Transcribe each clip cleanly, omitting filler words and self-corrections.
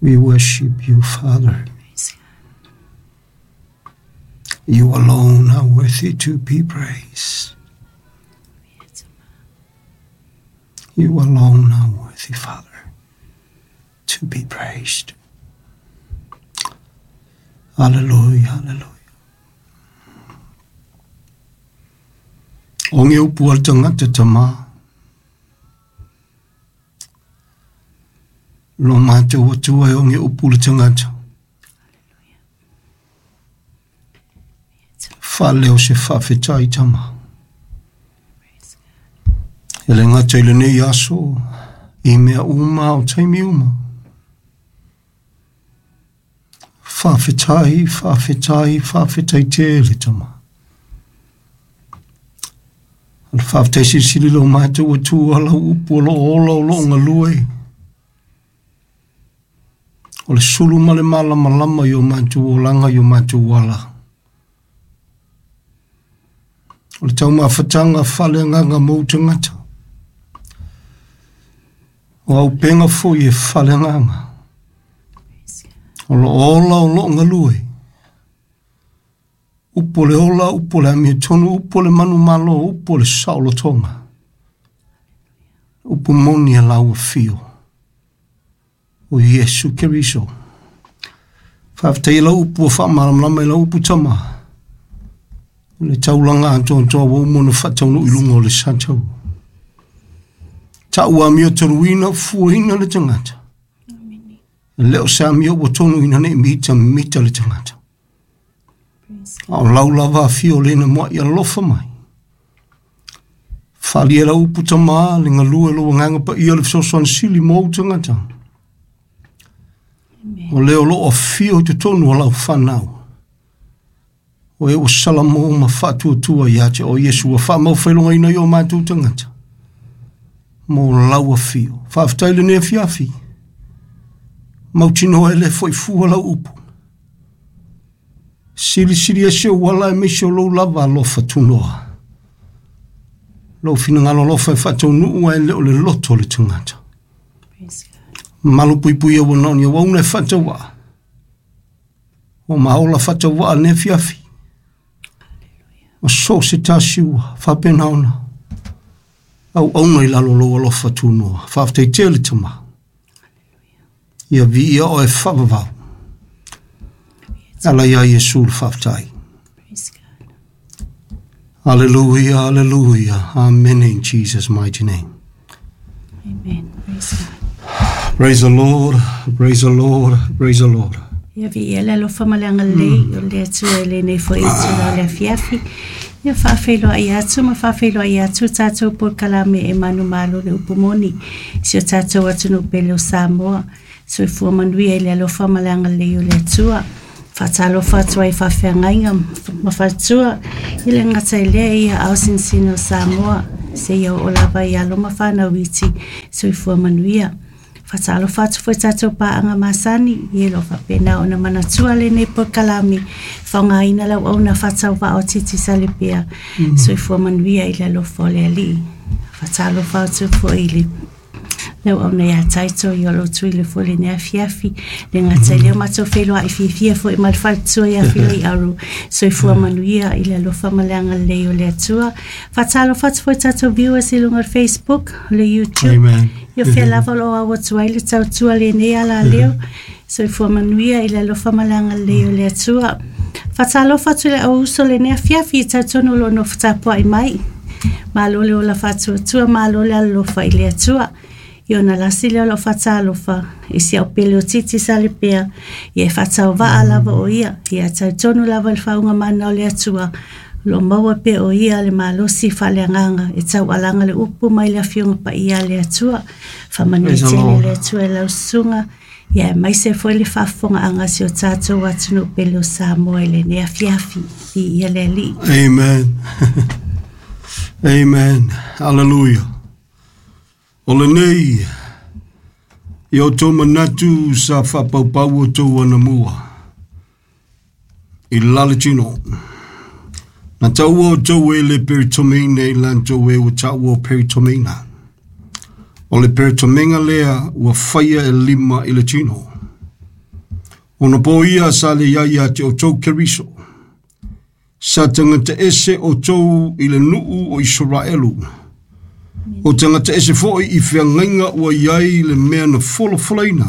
We worship you, Father. Praise God. You alone are worthy to be praised. You alone are worthy, Father, to be praised. Hallelujah, hallelujah. O nge upu al tangata tama. Lo mātou atua e o nge upu le tangata. Whaleo se whawhetai tama. Praise God. E le ngata i lenei aso, i mea uma o taimi uma. Whawhetai, whawhetai, whawhetai te le tama. O le whawhetai silisili lo mātou atua lau upu o lo ola o lo ngalue. O le sulu ma le malamalama i o mātou olanga i o mātou ala. O le taumafataga faaleagaga mo tagata. O auupega foi e faaleagaga. Praise God. O loo ola o loo galue. Upu o le ola, upu o le amiotonu, upu o le manumalo, upu o le saolotoga. Upu moni a lau afio. O Iesu Keriso. Faafetai lau upu o faamalamalama i lau upu tama. O le taulaga atoatoa ua uma ona faataunuu i luga o le satau. Ta'u amio toluina fuaina le tagata. Amen. E le o se amio ua tonuina nei mita mita le tagata. Praise God. A o lau lava afio lena moa'i alofa mai. Faali e lau upu tama le galue o lou agaga paia le fesoasoani sili mo ou tagata. Amen. O lea o loo afio i totonu o lau fanau. O e ua salamo ma faatuatua ia te o Iesu ua faamaufailogaina i o matou tagata. Mo lau afio. Faafetai lenei afiafi. Mautinoa e le foi fua lau upu. Silisili ese ou ala aemaise o lou lava alofa tunoa. Lou finagalo alofa e faataunuu ae le o le loto o le tagata. Praise God. Malu puipui ua naoni auauna e faatauvaa. O maola faatauvaa lenei afiafi. Hallelujah. Ma so o se tasi ua faapena ona auauna i lalo o lou alofa tunoa. Faafetai tele tama. Hallelujah. Ia viia oe faavavau. Ala ia Iesu le faafetai. Praise God. Hallelujah, hallelujah. Amen in Jesus' mighty name. Amen. Praise God. Praise the Lord, praise the Lord, praise the Lord. Ia viia le alofa ma le agalelei o le Atua i lenei foi itula o le afiafi. Ia faafeiloai atu ma faafeiloai atu tatou polokalame e manumalo le upu moni. Si o tatou atunuu pele o Samoa. Soifua manuia i le alofa ma le agalelei o le Atua. Faatalofa atu ai faafeagaiga ma faletua i le gata i lea ia aosinosino o Samoa. Seia oo lava i alo ma fanau iti soifua manuia. Faatalofa atu foi tatou paaga masani ia lo faapena ona manatua lenei polokalame faaaogaina lau auauna faatauvaa o Titisalepea. Soifua manuia i le alofa o le Alii. Faatalofa atu foi i le lau auauna ia Taito i o lou tuile foi lenei afiafi. Le gata i lea o matou feiloai fiafia foi ma le faletua ia Filei Aru. Soifua manuia i le alofa ma le agalelei o le Atua. Faatalofa atu foi tatou viewers i luga o le Facebook, o le YouTube. Amen. Ia fea lava o loo au atu ai le tautua lenei ala leo. Soifua manuia i le alofa ma le agalelei o le Atua. Faatalofa atu i le au uso lenei afiafi i tautono o loo nofo tapuai mai. Malo le ola faatuatua, malo le alolofa i le Atua. I ona lasi lea o lau faatalofa i si au pele o Titisalepea. Ia e faatauvaa lava o ia. Ia tautono lava i le faaugamana o le Atua. O loo maua pea o ia le malosi faaleagaga e taualaga le upu mai le afioga paia a le Atua. Faamanuia Praise the tele Lord. le Atua i lau susuga. Ia aemaise foi le faafofogaaga a si o tatou atunuu pele o Samoa i lenei afiafi. Viia le Alii. Amen. Amen. Hallelujah. O lenei, i o tō manatu sa whapaupau o tō anamua. I lale tino. Na taua o tō e le peritomina i lan tō e ua taua o peritomina. O le peritomenga lea ua whaia e lima i le tino. Ona po ia sa le ia ia te o tau Keriso. Sa tagata ese o tou i le nuu o Isaraelu. O tagata ese foi i feagaiga ua i ai le mea na folafolaina.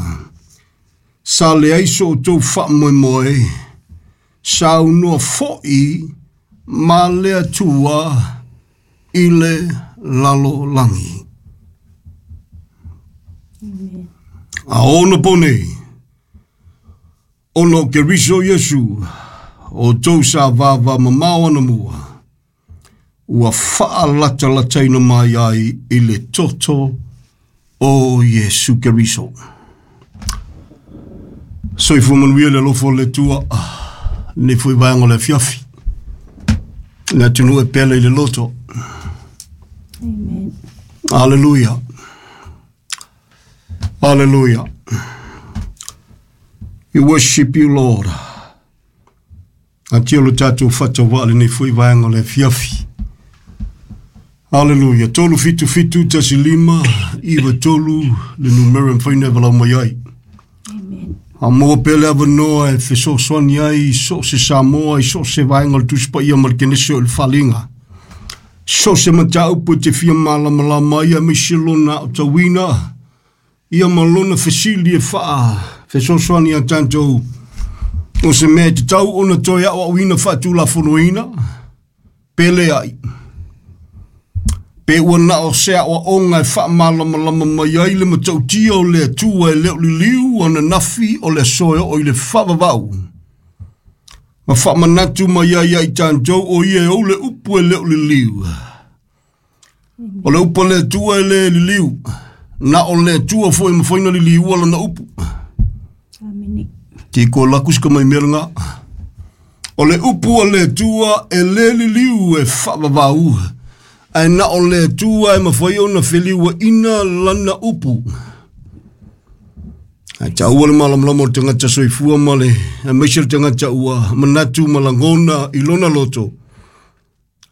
Sa leai so outou faamoemoe, saunoa foi ma le Atua i le lalolagi. A ona po nei, ona o Keriso Iesu, o tou sa vava mamao anamua, ua faalatalataina mai ai i le toto o Iesu Keriso. Soifua manuia le alofa o le Atua, lenei foi vaega o le afiafi. Le atunuu e pele i le loto. Amen. Aleluia. Aleluia. We worship you, Lord. Atia lo tatou fatawaa lenei foi vaega o le afiafi. Aleluia. 3 7 7 1 5 9 3 le numera e mafai ona e valaau mai ai. Amen. A maua pea le avanoa e fesoasoani ai i so o se Samoa, i so o se vaega o le Tusi Paia ma le Kenese o le Faaaliga. So o se mataupu e te fia malamalama ai aemaise lona aotauina, ia ma lona fesili e faa fesoasoani ia tatou o se mea e tatau ona toe aoaoina faatulafonoina, pe leai. Pe ua na o se aoaoga e faamalamalama mai ai le matautia o le Atua e le o liliu ananafi o le aso e oo i le faavavau. Ma faamanatu mai ai ia i tatou o ia e ou le upu e le o liliu. O le upu a le Atua e le liliu. Na o le Atua foi e mafai ona liliua lana upu. Amene. Ti ko laku se mai mea lena. O le upu a le Atua e le liliu e faavavau. Ae na o le Atua e mafai ona feliuaina lana upu. Ae taua le malamalama o le tagata soifua ma le aemaise le tagata ua manatu ma lagona i lona loto.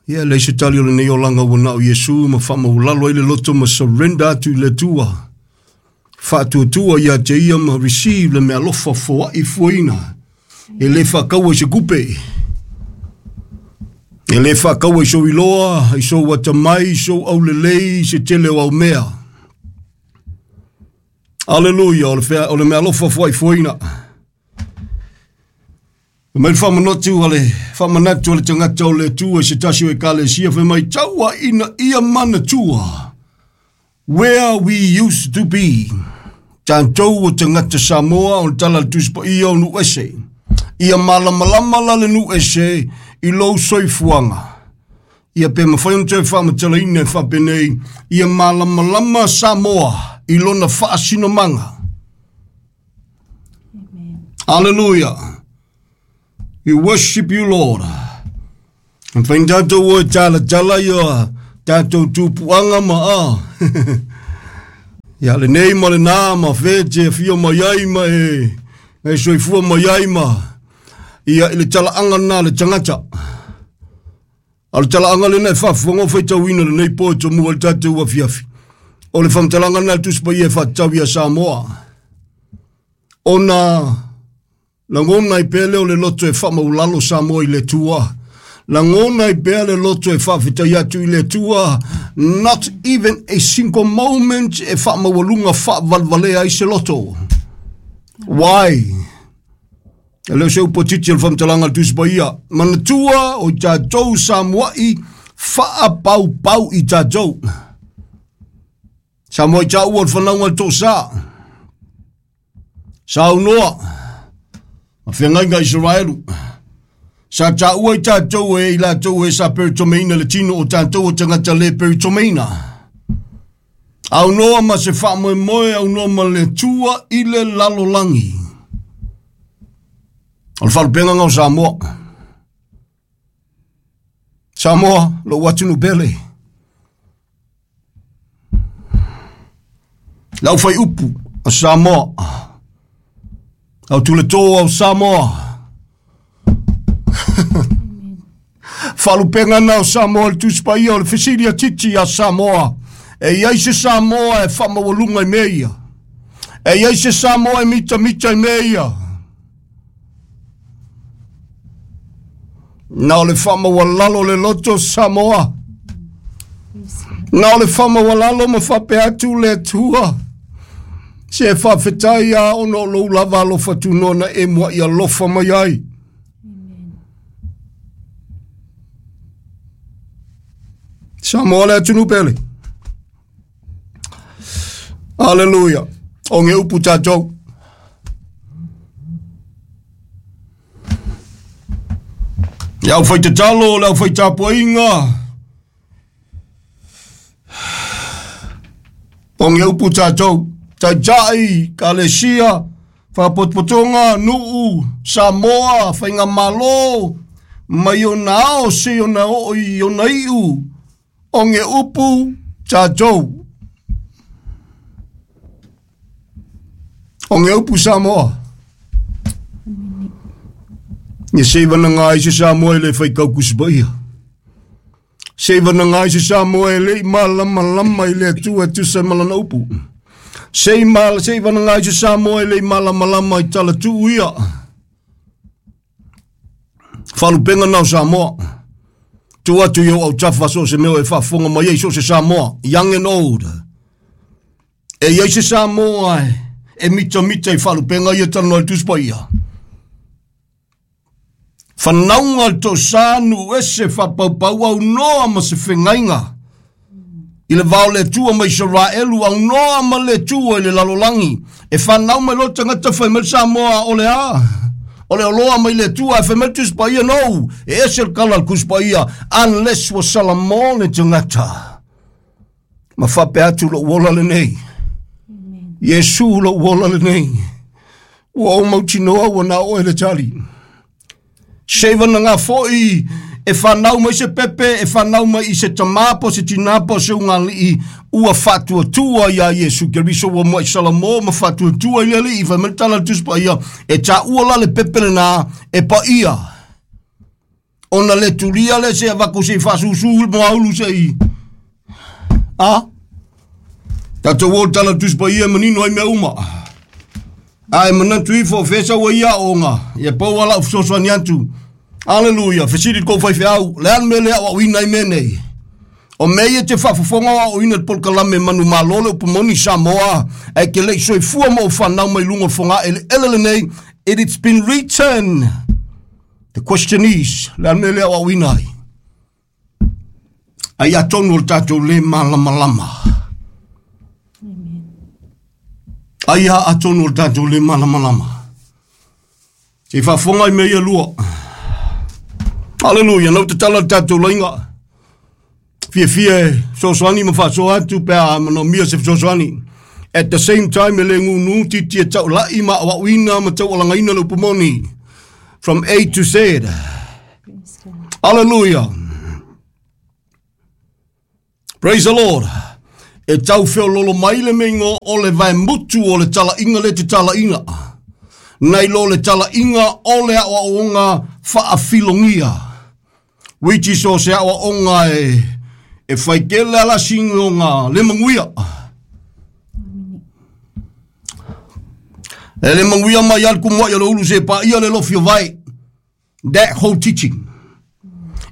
Ia, e leai se tali o lenei olaga ua na o Iesu ma faamaualalo ai le loto ma surrender atu i le Atua. Faatuatua ia te ia ma receive le meaalofa foai fuaina. E le faakaua i se kupe. E le faakaua i sou iloa, i sou atamai, i sou aulelei, i se tele o au mea. Aleluia, o le, fea, o le meaalofa foai fuaina. Fai mai le faamanatu a le faamanatu a le tagata o le Atua i se tasi o ekalesia, fai mai taua ina ia manatua where we used to be. Tatou o tagata Samoa o le tala a le Tusi Paia o nuu ese. Ia malamalama la le nuu ese i lou soifuaga. Ia pe mafai ona toe faamatalaina e faapenei, ia malamalama Samoa i lona faasinomaga. Aleluia. We worship you, Lord. Mafai ona tatou o e talatala ia tatou tupuaga ma a. Ia lenei ma lena ma fe te afio mai ai ma e, e soifua mai ai ma ia i le talaaga lena a le tagata. A o le talaaga lena e faafofoga o faitauina lenei po e tomua i le tatou afiafi. O le faamatalaga lena a le Tusi Paia e faatatau ia Samoa. Ona lagona ai pea lea o le loto e faamaulalo Samoa i le Atua. Lagona ai pea le loto e faafetai atu i le Atua. Not even a single moment e faamaualuga faavalevalea ai se loto. Why? E le o se upu a titi o le faamatalaga a le Tusi Paia. Manatua o i tatou Samoa'i faapaupau i tatou. Samoa i taua o le fanauga a le toasa. Saunoa ma feagaiga Isaraelu. Sa taua i tatou e i latou e sa peritomeina le tino o tatou o tagata le peritomeina. Aunoa ma se faamoemoe, aunoa ma le Atua i le lalolagi. O le faalupega o Samoa. Samoa, lou atunuu pele. Lau fai upu a Samoa. Au tuleto au Samoa. Faalupega na o Samoa le Tusi Paia o le fesili a Titi a Samoa. E i ai se Samoa e faamaualuga i mea ia. E i ai se Samoa e mitamita i mea ia. Na o le faamaualalo le loto Samoa. Na o le faamaualalo ma faapea atu le Atua. Se faafetai a ona o lou lava alofa tunoa na e mua'i alofa mai ai. Samoa le atunuu pele. Aleluia. O ge upu tatou. Le au faitatalo, le au faitapuaiga. O ge upu tatou. Taitai, kalesia, faapotopotoga, nuu, Samoa, faigamalo, mai ona ao se ona oo i ona iu. O ge upu tatou. O ge upu Samoa. Ia seivanaga ai se Samoa e le faikaukusi paia. Seivanaga ai se Samoa e le'i malamalama i le Atua e tusa ma lana upu. Seivanaga ai se Samoa e le'i malamalama i talatuu ia. Faalupega na o Samoa. Tu atu i ou autafa so se mea e faafofoga mai ai so se Samoa, young and old. E iai se Samoa e mitamita i faalupegaia talanoa i le Tusi Paia. Fanauga le tosa nuu ese faapaupau aunoa ma se fegaiga. I le vao le Atua ma Isaraelu aunoa ma le Atua i le lalolagi. E fanau mai loa le tagata fai mai le Samoa o le a? O le oloa mai le Atua ae fai mai le Tusi Paia no. E ese le kala o le Tusi Paia unless ua salamo le tagata. Ma faapea atu lou ola lenei. Iesu lou ola lenei. Ua ou mautinoa ua na oe le tali. Seivanaga foi e fanau mai se pepe, e fanau mai i se tamā po se tinā po se ugalii, ua faatuatua iā Iesu Keriso ua mua'i salamo ma faatuatua i le Alii. Fai mai le tala a le Tusi Paia, e taua la le pepe lenā e paia. Ona le tulia lea se avatu se i faasusu le moaulu se i. A? Tatou o le tala a le Tusi Paia e manino ai mea uma. Ae manatu ifo o fea sau ai ia aoga, ia pau a lau fesoasoani atu. Aleluia, fesili le kou faifeau, le a le mea lea aoaoina ai mea nei? O mea ia e te faafofoga o aoaoina i le polokalame manumalo le upu moni Samoa, ae ke le i soifua ma ou fanau mai luga o le fogaeleele lenei, it it's been written. The question is, le a le mea lea aoaoina ai? Ai atonu o le tatou le malamalama. Ai a atonu o le tatou le malamalama. Se i faafofoga i mea ia lua. Aleluia, nau tatala le tatou laiga. Fiafia e fesoasoani ma faasoa atu pe a manaomia se fesoasoani. At the same time e le nunu titi e taulai ma aoaoina ma taualagaina le upu moni. From A to Z. Hallelujah. Praise the Lord. E tau feololo mai le meingo o le vaemutu o le talaiga le te talaiga. Nai lo le talaiga o le aoaoga faafilogia. Which is o se aoaoga e faitele ala sigoga le manuia. E le manuia mai al kumuai o le ulu se paia le lofi o vai. That whole teaching.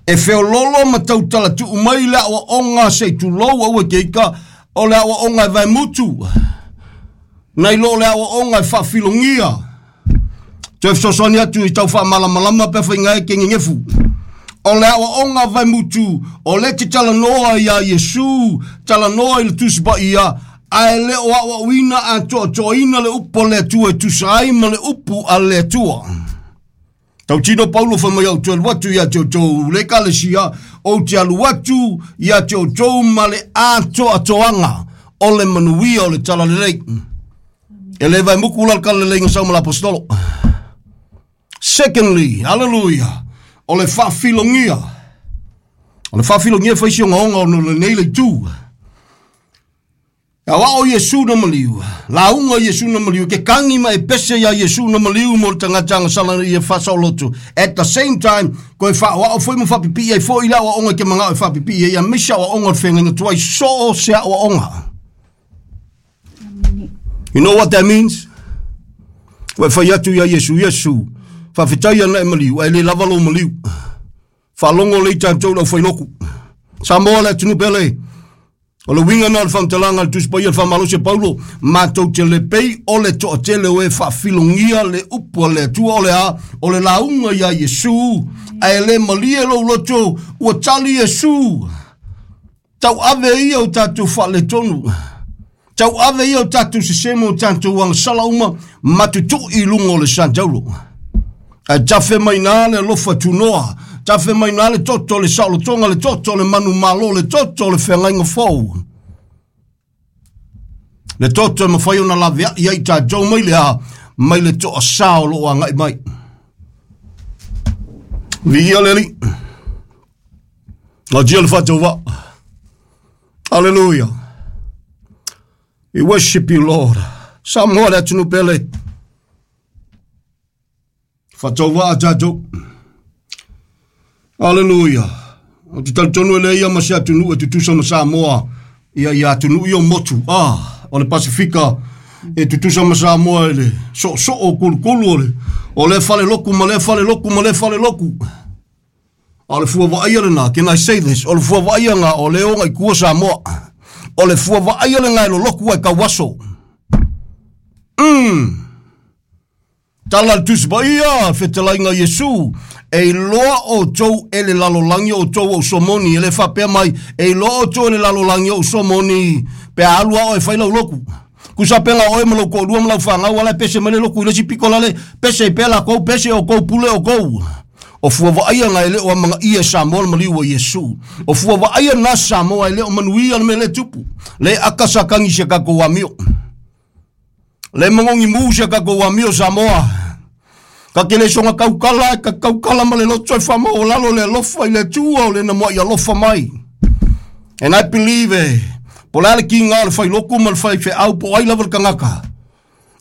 E feololo ma tautala tuu mai le aoaoga se i tulou aua ke ika o le aoaoga e vaemutu. Nai lo le aoaoga e faafilogia. Toe fesoasoani atu i tau faamalamalama pe faiga e ke gegefu. O le aoaoga vaemutu o le te talanoa iā Iesu, talanoa i le Tusi Paia, ae le o aoaoina atoatoaina le upu a le Atua e tusa ai ma le upu a le Atua. Tautino Paulo fai mai au te alu atu ia te outou le ekalesia, ou te alu atu ia te outou ma le atoatoaga o le manuia o le talalelei. E le vaemuku la le kaleleleiga sau ma le apostolo. Secondly, hallelujah, o le faafilogia. O le faafilogia e fai si ogaoga ona o lenei le itu. E aoao Iesu na maliu, lauga Iesu na maliu, ke kagi ma e pese iā Iesu na maliu mo le tagata agasala ia faasaoloto. At the same time, koe faaoao foi ma faapipii ai foi i le aoaoga e ke magao e faapipii ai, aemaise aoaoga o le feagaiga tuai, so o se aoaoga. You know what that means? Ua e fai atu iā Iesu, Iesu, faafetai ana e maliu, ae le lava lou maliu. Faalogo lelei tatou le aufailoku. Samoa le atunuu pele. O le uiga na o le faamatalaga a le Tusi Paia le Faamalosi a Paulo, matou te le pei o le toatele o e faafilogia le upu a le Atua o le a, o le lauga iā Iesu, ae le malie lou loto, ua tali Iesu. Tauave ia o tatou faaletonu. Tauave ia o tatou sese ma o tatou agasala uma ma tutui i luga o le satauro. Ae tafe mai na le alofa tunoa, tafe mai na le toto le saolotoga, le toto le manumalo, le toto le feagaiga fou. Le toto e mafai ona laveai ai tatou mai le a, mai le toasā o lo o agai mai. Viia le Alii. Gatia le faatauvaa. Hallelujah. We worship you, Lord. Samoa le atunuu pele. Faatauvaa tatou. Hallelujah. Ou te talitonu e leai ma se atunuu e tutusa ma Samoa ia ia atunuu ia o motu. Ah, o le Pasifika e tutusa ma Samoa i le soosoo o kulukulu o le, o le fale loku ma le fale loku ma le fale loku. A o le fua vaaia lena, can I say this? O le fua vaaia nga o le oga i kua Samoa. O le fua vaaia lena e loloku ai kauaso. Tala le Tusi Paia, fetalaiga Iesu, e iloa outou e le lalolagi o outou o somoni, e le faapea mai, e iloa outou e le lalolagi o somoni, pe a alu a oe fai lau loku. Kusa pega oe ma lou toalua ma lau fanau ala e pese mai le loku i le isi pito lale, pese i pea lakou, pese o kou, pule o kou. O fua vaaia na e le o amagaia e Samoa le maliu o Iesu. O fua vaaia na Samoa e le o manuia le mea lea e tupu. Le aka sa kagi si a tatou amio. Le magogi mu si a tatou amio Samoa. Ka te le soga tautala, ka tautala ma le loto e faamaualalo le alofa i le Atua o le na mua'i alofa mai. And I believe e, po o le a le kiga o le failoku ma le faifeau po o ai lava le tagata,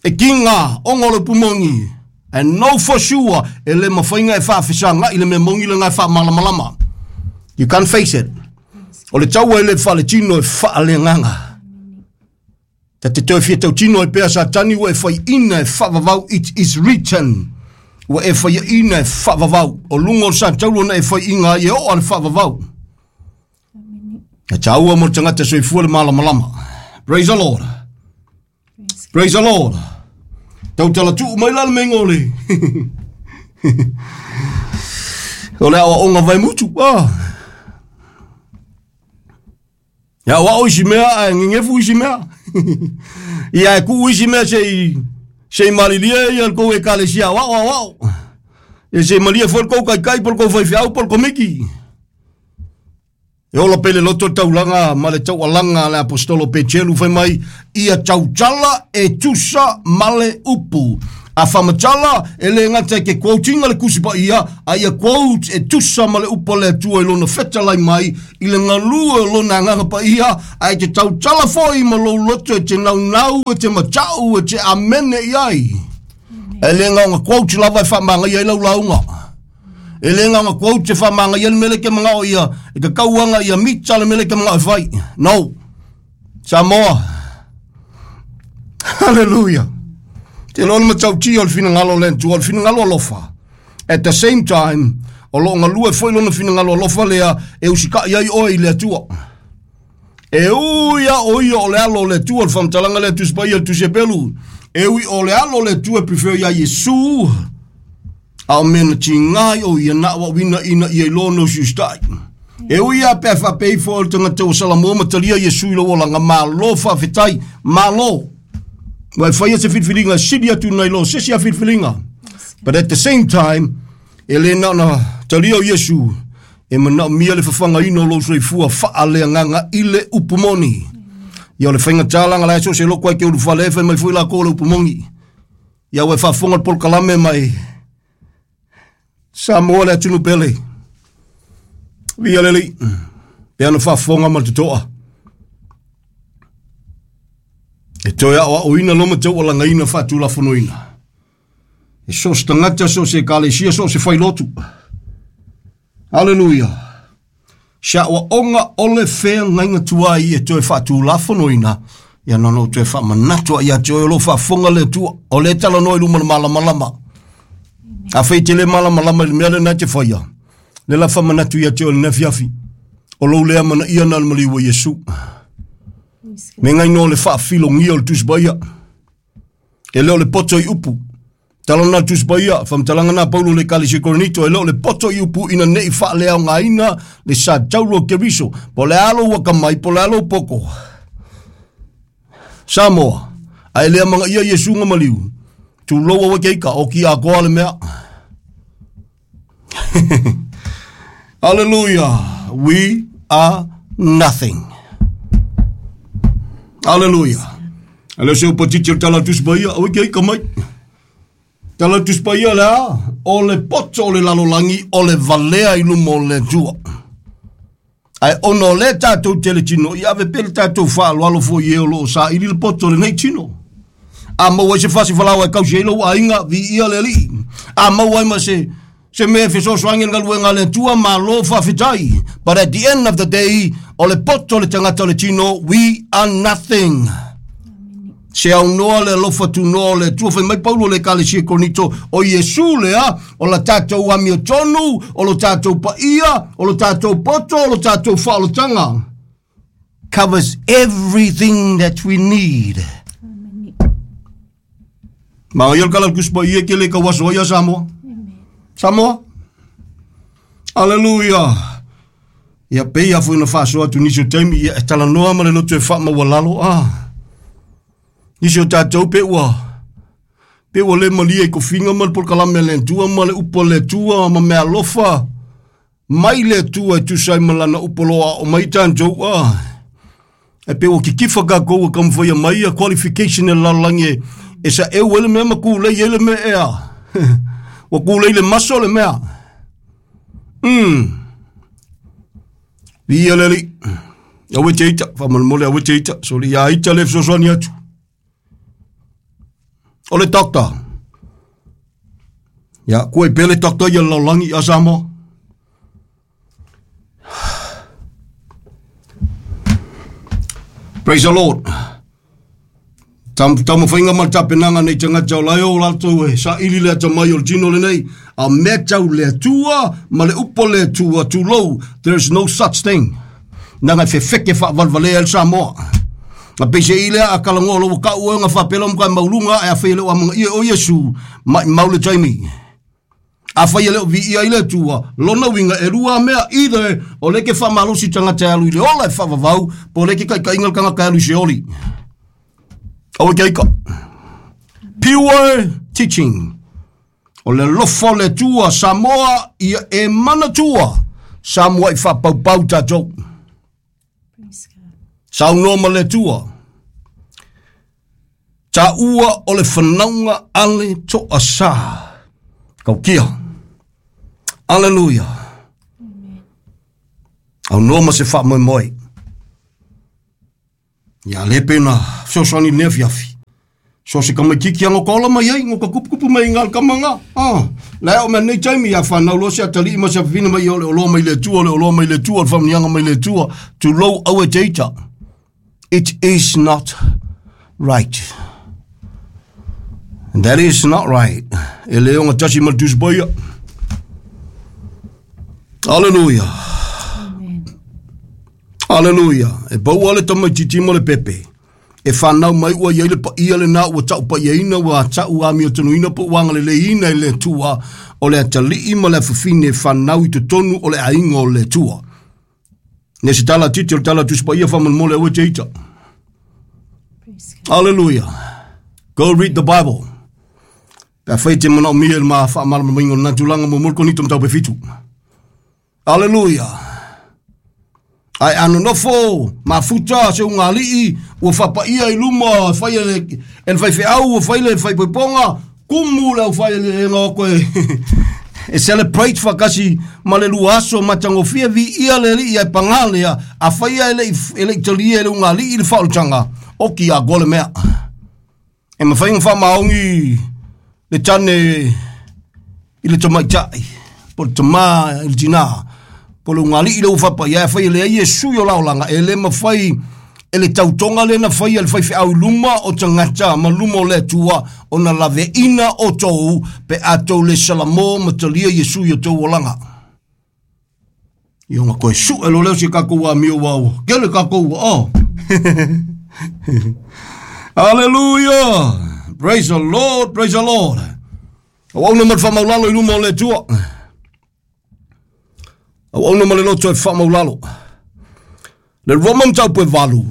e kiga ona o le upu moni, and know for sure e le mafai ona e faafesaga'i le mea moni lena e faamalamalama. You can't face it. O le taua e le faaletino e faaleagaga. Ta te toe fia tautino ai pea Satani ua e fai'ina e faavavau it is written. Ua e faiaina e faavavau. O luga o le satauro na e fai'ina ai e oo a le faavavau. E tāua mo le tagata soifua le malamalama. Praise the Lord. Praise the Lord. Tautala tuu mai la le meinga o le... o le aoaoga vaemutu. Ah. E aoao isi mea ae gegefu isi mea. Ia e tuu isi mea sei sei malilie ia le tou ekalesia aoao aoao. Ia sei malie foi le tou taitai po o le tou faifeau po o le komiti. E ola pea i le loto le taulaga ma le taualaga a le aposetolo Peteru fai mai, ia tautala e tusa ma le upu. A faamatala, e le gata i ke quote-ina le Tusi Paia, a ia quote e tusa ma le upu a le Atua i lona fetalai mai, i le galue o lona Agaga Paia, ae te tautala foi ma lou loto e te naunau, e te mata'u, e te amene i ai. E le na ona quote lava e faamagaia ai lau lauga. E le na ona quote e faamagaia ai le mea lea e te manao ia, e tatau ana ia mita le mea lea e te manao e fai. No. Samoa. Hallelujah. Te loa le matautia o le finagalo o le Atua, o le finagalo alofa. At the same time, o lo o galue foi lona finagalo alofa lea e usikai ai oe i le Atua. E ui a o ia o le alo o le Atua, le faamatalaga lea Tusi Paia, le Tusi Hepelu. E ui o le alo o le Atua e prefer iā Iesu, a o mea na tiga ai o ia na auauina ina ia iloa ona usiusitai. E ui lava pe a faapea ifo o le tagata ua salamua ma talia Iesu i lou olaga, malo faafetai, malo. Ua e faia se filifiliga e sili atu nai lo se isi a filifiliga. But at the same time, e le na ona talia o Iesu, e manaomia le fafagaina o lou soifua faaleagaga i le upu moni. Ia o le faigata laga la e so o se loko ai ke ulufale e fai mai foi lakou o le upu moni. Ia ua e faafofoga le polokalame mai Samoa le atunuu pele. Via le Alii. Pe ana faafofoga ma le totoa. E toe aoaoina lo ma taualagaina faatulafonoina. E so o se tagata, so o se ekalesia, so o se failotu. Haleluia. Se aoaoga o le feagaiga tuai e toe faatulafonoina, ia na ona ou toe faamanatu ai ia te oe o lo o faafofoga le Atua, o lea e talanoa i luma o le malamalama. Afai e te le malamalama i le mea lena e te faia, Le la whamanatu ia te o le nefiafi. O lou lea mana ia na le maliu o Iesu. Me ngai no le whaafilongia o le tusbaia. E leo le poto i upu. Talona tusbaia, whamtalanga na Paulo le kalisi Korinito, e leo le poto i upu ina nei whaalea o ngā ina le sa tauro keriso. Po le alo wakamai, po le alo poko. Samoa, a e lea manga ia Iesu nga maliu. Tu loa wa keika, o ki a koa le mea. Hallelujah. We are nothing. Hallelujah. Ale se upatiti o tala tusbaia, o keika mai. Tala tusbaia lea, o le poto o le lalolangi, o le valea i lumo o le tua. Ai ono le tātou tele tino, i ave pele tātou whaaloalo fo i e o loo sa ili le poto le nei tino. A mau ai se fasi whalau ai kausi eilo a inga vi ia le alii. A mau ai ma se mea fesoasoani le galuega le Atua malo faafetai. But at the end of the day, o le poto le tagata o le tino, we are nothing. Se au noa le alofa tunoa o le Atua, fai mai Paulo le ekalesia Korinito, o Iesu lea, o la tātou amiotonu, o lo tātou paia, o lo tātou poto, o lo tātou whaolotanga. Covers everything that we need. Ma ia kala kuspa ia ke le ka waso ia Samoa. Samoa. Hallelujah. Ia pe ia foi na faso atu nisi o taimi ia e talanoa ma le loto e wha mawalalo. Ah. Nisi o tātou pe ua le malia i kofinga ma le polokalame le Atua ma le upo le Atua ma mea alofa mai le Atua e tusa ai ma lana upo loa o mai tātou. Ah. E pe ua kikifa kākou a kamawhaia mai a qualification e lalolangi e sa eu ele mea ma kūlei ele mea ea. Ua kūlei le maso le mea. Via leli. Awe te ita, whamanamole awe te ita. So li ia ita le fesoasoani atu. O le doctor. Ia, kua i pele doctor ia lalolagi a Samoa. Praise the Lord. Taumawhainga ma le tapenanga nei tagata o lae o latou e saili le atamai o le tino lenei. A mea tau le Atua ma le upo le Atua tulou. There is no such thing. Nanga e fefeke whaavalvalea le Samoa. Nga peise i lea a kalangoa lo wakau oe nga whapela mga maulunga e a whaile o amanga ia o Iesu mai maule taimi. A whaile o vi ia i le Atua, lona winga e rua mea either o leke whamalosi tangata alu i le ola e whavavau, po leke kai kainga kanga alu i se oli. Awe keika. Pure teaching. O le lofo le Atua, Samoa ia e manatua. Samoa i whapaupau tātou. Saunoa ma le Atua. Ta ua o le whanaunga ale toa sa. Kaukia. Alleluia. Au noa ma se wha moi moi. Ia le pena fesoasoani le afiafi. So se kamaitiki anga kola mai ai, ngoka kupukupu mai ngā kamanga. Ah, le o mea nei taimi ia whanau lo se atali ma se whina mai o le oloa mai le Atua, le oloa mai le Atua, le whamnianga mai le Atua, to low our data. It is not right. And that is not right. E le onga tasi ma tusbaia. Hallelujah. Amen. Hallelujah. E pau ale tamaititi ma le pepe. E whanau mai ua ia le pa ia le nā ua tau pa ia ina ua tau a mio tanuina po wanga le leina i le Atua o le atalii ma le afafine e whanau i totonu o le ainga o le Atua. Ne se tala titi o le tala tuspa ia whamanamole awe te ita. Hallelujah. Go read the Bible. Pea whai te mana o mia le maa whaamalama o natulanga mo murko ni tomtau pe fitu. Hallelujah. Ai anonofo, mafuta, se ungalii, ua whapaia i luma, whai ele, el whai wheau, ua whai le whai poiponga, kumu le whai le ngā koe. E celebrate whakasi ma le luaso matangofia vi ia le li ia pangalea, a whai ele ele italia ele ungalii le whaolutanga, oki a gole mea. E mawhai ngā whamaongi le tane i le tamaitai, po le tamā i le tina. Po le ungali i le ufapa ia whai le Iesu i o laolanga e le mawhai e le tautonga le na whai e le whai wheau luma o tangata ma luma o le Atua o na lave ina o tōu pe a tō le salamo ma talia Iesu i o tōu olanga. Ia ona toe sue loa lea o si tatou amio aua ua tele tatou ua o. Hallelujah! Praise the Lord, praise the Lord. Auauna ma le faamaulalo i luma o le Atua. Auauna ma le loto e faamaulalo. Le Roma mataupu e 8.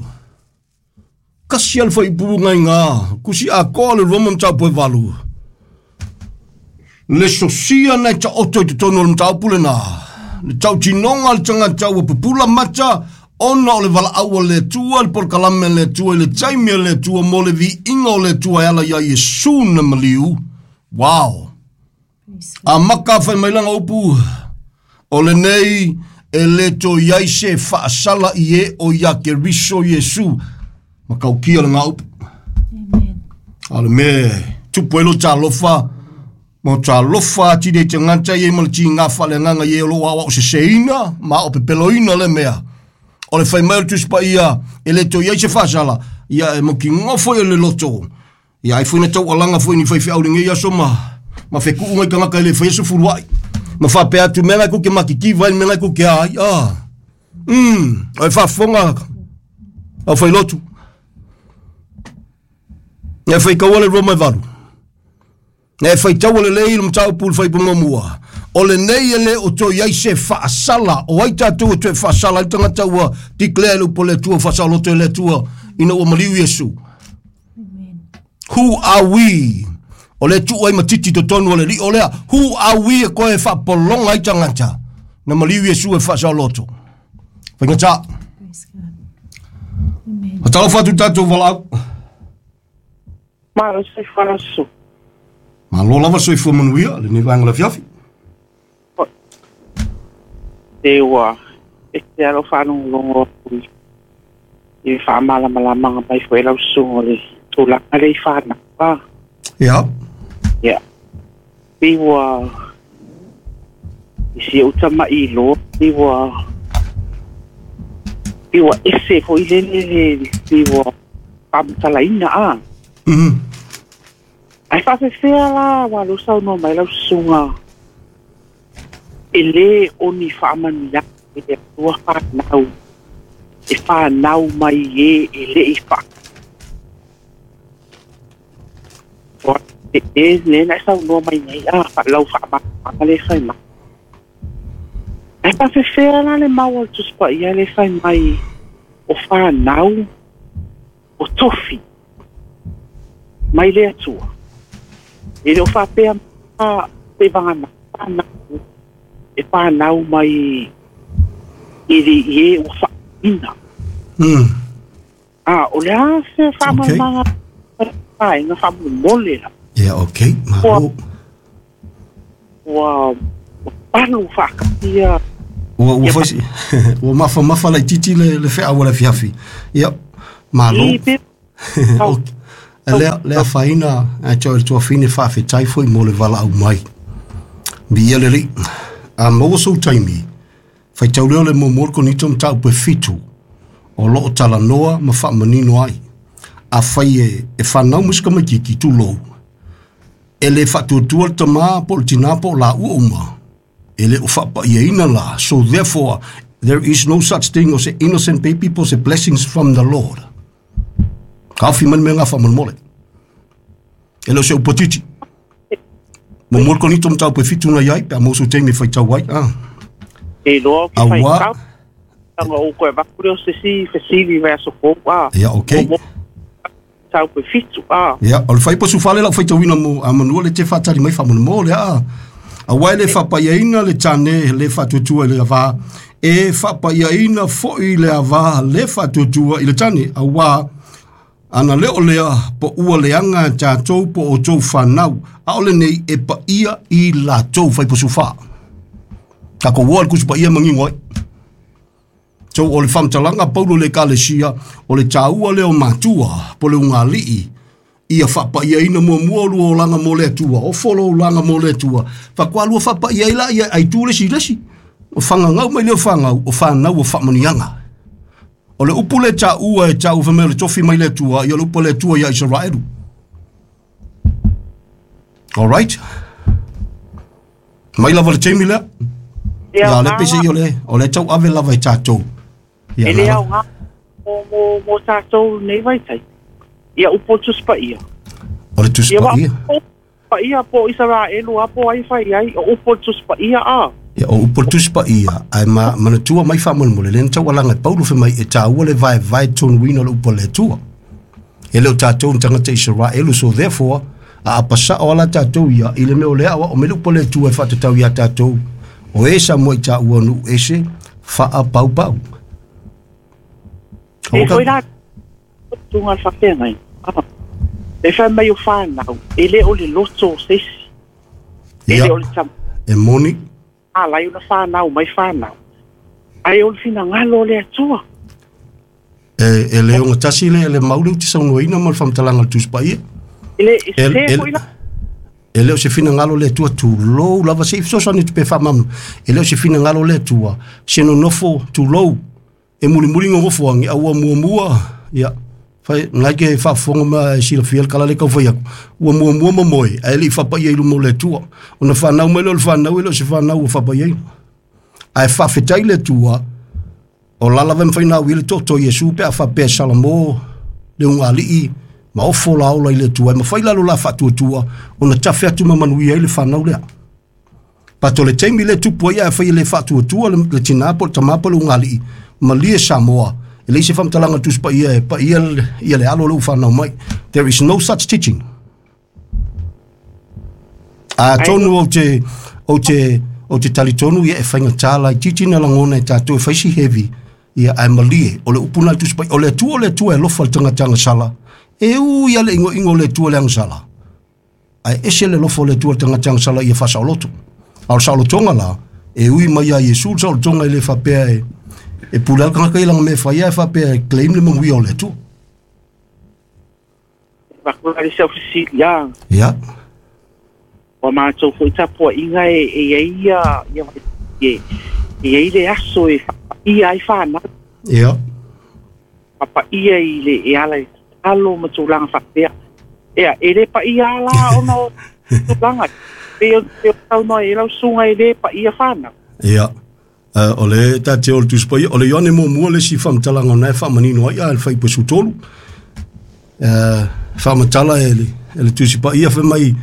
Kasi a le faaipuga i gā. Kusi atoa le Roma mataupu e 8. Le sosia na e taoto i totonu o le mataupu lenā. Le tautinoga a le tagata ua pupula mata ona o le valaau a le Atua, le polokalame a le Atua i le taimi a le Atua mo le viiga o le Atua e ala iā Iesu na maliu. Wow! Amaka fai mai lana upu, o lenei e le toe i ai se faasala i e o iā Keriso Iesu. Matautia lena upu. Amen. A o le mea e tupu ai lo talofa, ma o talofa atili ai tagata ia ma le tiga faaleagaga i e o lo o aoao seseina ma ao pepeloina le mea. O le fai mai o le Tusi Paia, e le toe i ai se faasala, ia e mautinoa foi o le loto. Ia ai foi na taualaga foi ni faifeau i lenei aso ma ma feku'u nai tagata e le faia se fulua'i ma faapea atu mea la e tou te matitiva ai le mea la e tou te a ai a o e faafofoga au failotu e faitaua le Roma e 8 e faitaua lelei le mataupu i le fuaiupu muamua o lenei e le o toe i ai se faasala o ai tatou e toe faasala ai le tagata ua declare i le upu a le Atua faasaoloto e le Atua ina ua maliu Iesu. Who are we? O le tuu ai ma titi totonu o le lio lea. Who are we e koe e faapologa ai tagata na maliu Iesu e faasaoloto? Faigata. Praise God. Amen. Fatalofa atu tatou valaau. Malo soifua lau susu. Malo lava soifua manuia lenei vaega o le afiafi. Se ua ese lava lou faalogologo atu i i le faamalamalamaga mai foi lau susuga o le tulaga lea i fanau a. Ia. Ia. Pei ua i si ou tama'i iloa pei ua pei ua ese foi lele le pei ua faamatalaina a. Ae faafefea la aua lea ua saunoa mai lau susuga e lē o ni faamanuiaga i le Atua fanau e fanau mai e e le i faa e lea na e saunoa mai nei a lau faamalamalamaga lea e fai mai. Ae faafefea la le mau a le Tusi Paia lea e fai mai o fanau o tofi mai le Atua? E le o faapea pe vagana fanau e fanau mai i le i e ua faaina. A, o le a se faamalamalamaga okay. Vaega faamolemole la. Ia, okay, malo. Ua, ua palu faakatia. Ua, ua, fai, ua mafamafa laitiiti le, le feau o le afiafi. Ia, malo. Okay. Lea, lea afaina, ae te oe le tuafine faafetai foi mo le valaau mai. Viia le Alii. A maua sou taimi, faitau lea o le muamua o le Korinito mataupu e 7, o lo o talanoa ma faamanino ai. Afai e, e fanau mai se tamaitiiti, tulou, e le faatuatua le tama po o le tinā po o laua uma, e le o faapaiaina la. So therefore, there is no such thing as a innocent baby po o se blessings from the Lord. Taofi mai le mea lena faamolemole. E le o se upu atiti. Muamua le Korinito mataupu e 7 na i ai, pe a maua sou taimi e faitau ai. Ah. E iloa ou te Aua. faitau, leaga ua ou toe avatu lea o se isi fesili i vaiaso fou, a. Ia, okay. Muamua mataupu e 7, a. Ia, o le fuaiupu 14 lau faitauina mo a manua le te faatali mai faamolemole, a. Aua e le faapaiaina le tane le faatuatua i le avā, e faapaiaina foi le avā le faatuatua i le tane, auā ana le o lea, po ua leaga a tatou po o outou fanau, a o lenei e paia i latou fuaiupu 14. Tatou oa i le Tusi Paia e manino ai. So o le faamatalaga a Paulo i le Ekalesia, o le taua lea o matua po o le ugali'i ia faapaiaina muamua o lua olaga mo le Atua, ofo lou olaga mo le Atua, faatoa lua faapaia ai laia ai tu le isi i le isi. O fagagau mai lea o fanau, o fanau o faamanuiaga. O le upu lea e taua e taua fai mai o le tofi mai le Atua, ia o le upu a le Atua ia Isaraelu. All right. Mai lava le taimi lea. Ia le pese i o le tau ave lava i tatou. Ia e le aoga mo tatou nei vaitai. Ia upu o le Tusi Paia. O le Tusi Paia. Paia po Isaraelu a po ai fai ai o upu o le Tusi Paia a. Ia o upu o le Tusi Paia ai ma manatua mai faamolemole le tau alanga e Paulo fai mai e tāua le vaevae tonuina o le upu a le Atua. E le o tatou ni tagata Isaraelu, so therefore a apasao ala tatou ia i le mea o lea o me le upu a le Atua e faatatau ia tatou o e sa mo i tāua nu ese faapaupau. E foi la tunga le faafeagai. E fai mai o whānau, e le o le loto o seisi. E le o le tam. E moni. A lai ona whānau, mai whānau. Ai o le finagalo o le Atua. E le o tasi le maule uti saunoaina ma le faamatalaga le Tusi Paia. E le se foi la. E le o se finagalo le Atua tulou lava se ifesoasoani atu pe faamamalu. E le o se finagalo le Atua se nonofo tulou e mulimuli gogofoagi a ua muamua ia fai nai ke faafofoga ma e silafia le kala le kaufai aku ua muamua mamoe ae le i faapaia i luma o le Atua ona whanau mai le o le whanau e le o se whanau ua faapaiaina ae faafetai le Atua o lala ve mawhai nā wile toto Iesu pe a whapea Salamo le ungalii ma ofo la ola i le Atua e mawhai lalo la whaatuatua ona tafe atu ma manuia i le whanau lea. Pato le taimi le tupu ai a whai le whaatuatua le tina po le tama po le ungalii malie Samoa e leise whamtalanga Tusi Paia e paia ia le alo le uwhanau mai. There is no such teaching. A tonu o te talitonu ia e whainga tāla i titi na langona e tātou e whaisi heavy ia ai malie o le upuna Tusi Paia o le Atua e lofa le tangata agasala e u ia le ingo ingo le Atua le agasala ai ese le lofa o le Atua le tangata agasala ia whasaoloto a o saolotonga la e ui mai a Iesu le saolotonga i le whapea e pule al kangaka i langa me whaia e whapea e claim le manguia o le Atua. Wakura le self-seat ia. Ia. Wa mātou foi tapua inga e ia ia e e le aso e ia ai whānau. Ia. Papa ia i le e ala e alo ma tūlanga whapea. Ea, e le pa ia ala ona o tūlanga. Pe o tau noa e lau sunga e le pa ia whānau. Ia. O le tate o le Tusi Paia, o le Ioane muamua le si whamtalanga o nae whaamanino ai a le whaipasu tolu. Whaamatala e le Tusi Paia whai mai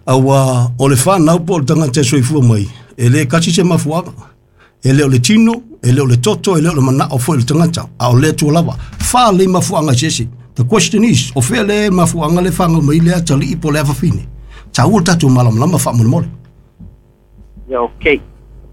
aua o le whanau po o le tangata e soifua mai. E le kasi se mafuaga. E le o le tino, e le o le toto, e le o le manao foi le tangata. A o le atua lava. Wha le mafuaga sese. The question is, o fea le mafuaga le whanga mai le atalii po le awawhine. Tā ua tātou malamalama whaamolemole. Ia, okay.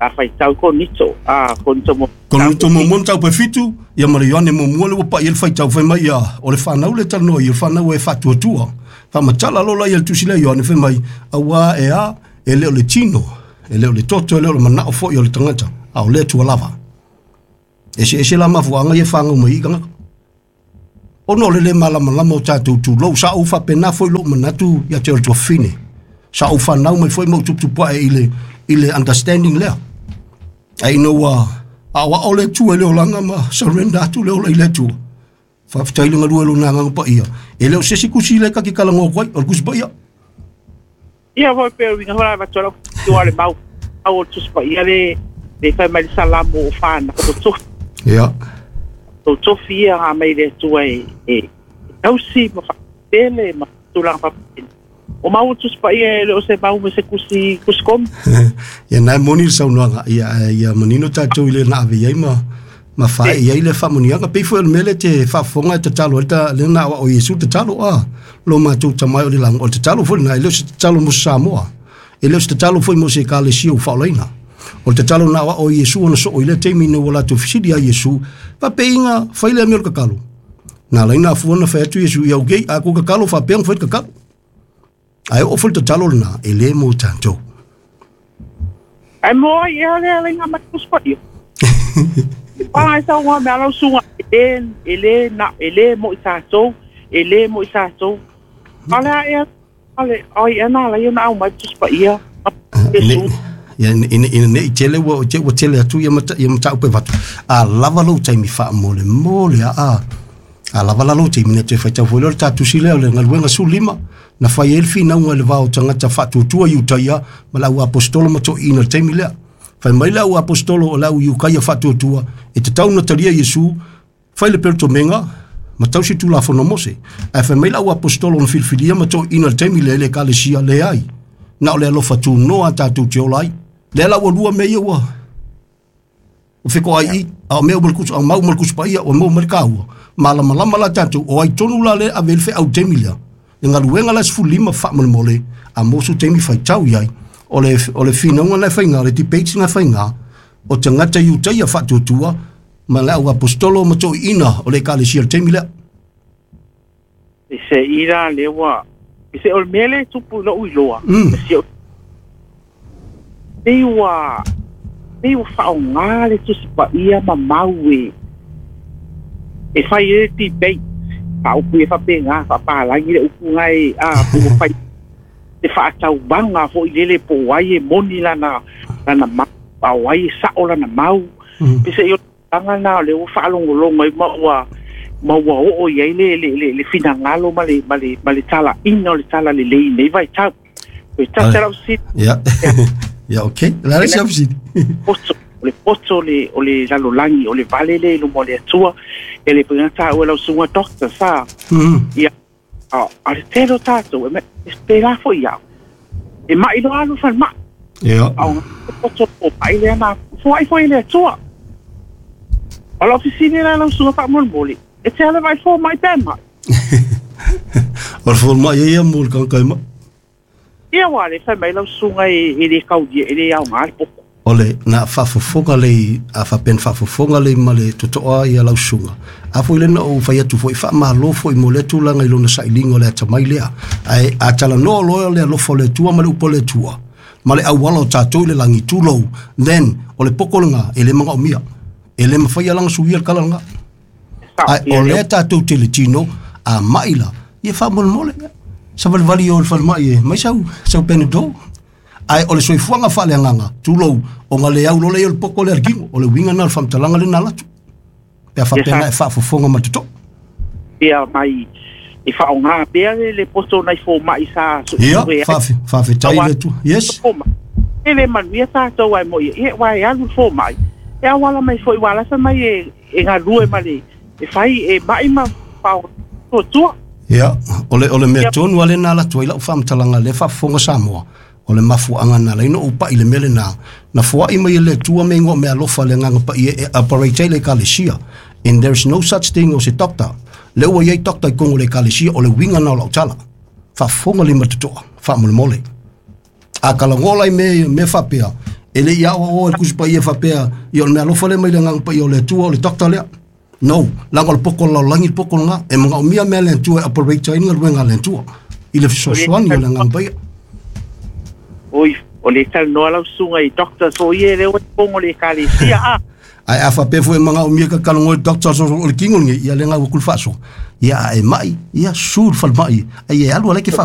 A whai tau ko nito. A, ko nito mo. Ko nito mo mo tau pe fitu, ia mara Ioane muamua le ua pai ele whai tau whai mai ia, o le whanau le talanoa ia, o le whanau e whatuatua. Whamatala lola ia le tusi lea Ioane whai mai, aua e a, e leo le tino, e leo le toto, e leo le manao foi o le tangata, a o le atua lava. Ese ese la mafuanga ia whangau mai i kangaka. Ono le le malamalama o tātou tūlou, sa au whapena foi lo manatu ia te o le tuafine. Sa au whanau mai foi mau tuptupua e i le understanding lea. Ai no a wa o le tua le olanga ma surrender atu le ola i le tua. Whawhitai le ngalua lo nā nganga pa ia. E leo sesi kusi le kaki kalangoa koai, o le kusi pa ia. Ia foi pēr winga hora vatua lau tua le mau au o tusi pa ia le whai mai le salamu o whāna o tofi. Ia. O tofi ia ngā mai le tua e tausi ma whakapele ma tūlanga whakapele. O mau o tusi pa ia e le o se mau me se kusi komi. Ia nai moni le saunoaga ia manino tātou i le na ave iai ma whae iai le whamoniaga. Pei fue o le mele te whaafonga e tatalo le na o Iesu tatalo a lo mātou tamai o le lango. O le tatalo foi na e le o se tatalo mo Samoa. E le o se tatalo foi mo se ekalesia o whaolaina. O le tatalo na o Iesu ona so o i le teimi na ua latou fisili a Iesu. Whapeinga whaile a mea o le kakalo. Nā laina afuana whai atu Iesu ia ukei a ko kakalo whapeanga whai kakalo. Ai o foi tatalo na e le mo tātou. Ai mo ia le le ngā mai kuspa ia. Ai sa ngā mea lau sunga e le na e le mo i tātou, e le mo i tātou. Ale ia ale ai ana la ia na au mai kuspa ia. Ia ina nei tele ua tele atu ia matau pe watu. A lava lou taimi wha mo le mo le a lava la lou taimi na te whaitau foi le tātu si leo le ngaluenga su lima. Na whai elfi na unga le vao tangata whatuatua i utaia ma lau apostolo ma to ina le taimi lea. Fai mai le au apostolo o le au iukaia faatuatua e tatau ona talia Iesu fai le pelotomeaga ma tausi Tulafono a Mose. Ae fai mai le au apostolo na filifilia ma toeaiina i le taimi lea i le Ekalesia, leai, na o le alofa tunoa a tatou te ola ai. Lea la ua lua mea ia ua fetoai i, a o mea uma le kusu, a mau ma le Tusi Paia, ua maua mai le taua. Malamalama la tatou, o ai tonu la lea e ave i ai le feau i le taimi lea. Le galuega la e 15 faamolemole, a maua sou taimi faitau i ai. O le finauga na e faiga, o le debate na e faiga, o tagata Iutaia faatuatua ma le au apostolo ma toeaiina o le Ekalesia i le taimi lea. E se i la lea ua e se o le mea lea e tupu i lou iloa, si ou pei ua faaaoga le Tusi Paia ma mau e fai ai le debate faaupu ia faapena faapalagi le upu na e a pe ua fai le faatauvaga foi lele po o ai e moni lana mau a o ai e sao lana mau. Pe se i o tulaga na o lea ua faalogologo ai ma ua oo i ai le finagalo ma le talaina o le tala lelei nei vaitau. O tasi lau fesili. Ia. Ia, okay. La le sia fesili. Poto o le poto o le lalolagi o le vale le i luma o le Atua e le pena taua lau susuga doctor sa ia a le tele o tatou e pēlā foi au e mai loa alu falemai a o poto o mai lea na foai foi i le Atua. O lau fesili la lau susuga faamolemole, e te ale vai fo mai pe mai? O le fomai ia mo le kankai mai. Ia ua le fai mai lau susuga e le kaulia e le aoga le poto. O le na faafofoga lei a faapena faafofoga lei ma le totoa ia lau susuga. A foi lena ou fai atu foi faamalo foi mo lea tulaga i lona sailiga o le atamai lea. Ae a talanoa loa le alofa o le Atua ma le upu o le Atua ma le auala o tatou i le lagi tulou, then o le poko lena e le magaomia. E le mafai lana suia le kala lena. Ai o lea tatou te le tino a mai la ia faamolemole. Savalivali o le falemai e mai sau Panadol. Ai o le soifuaga faaleagaga tulou o ga le au lola ia o le poko lea le kino o le uiga na o le faamatalaga lena latu. Pe a faapena e faafofoga ma totoa. Ia mai e faaaoga pea le poto nai fomai sa Ia, faafetai le Atua. Yes. E le manuia tatou ai mo ia ua e alu le fomai e auala mai foi ua lasa mai e galue ma le e fai e mai ma tua. Ia, o le mea tonu ale na latu ai lau faamatalaga le faafofoga Samoa. O le mafuaaga na laina o pai le mele na na foai mai le Atua me ngo me alofa le nganga pa e operate ai le ekalesia. And there is no such thing as a doctor. Le ua iai doctor i kongo le ekalesia o le winga na o lau tala. Faafofoga le matotoa, faamolemole. A kalagola i me faapea, e le ia o le kusi paia faapea, ia o le mea alofa le mai le nganga paia o le Atua o le doctor lea. No, langa o le poko lalolagi le poko lena, e magaomia mea le Atua e operate ai galuega a le Atua. I le fesoasoani o le agaga paia. Oi, o le talanoa lau susuga i doctor so ia le ua pongo le ekalesia a. Ai a faapea foi e magaomia ka kalagoa i le doctor so o le kingo lenei, ia le ngau kul faaso. Ia a e mai, ia su le falemai, ai e alu ala ke faaku.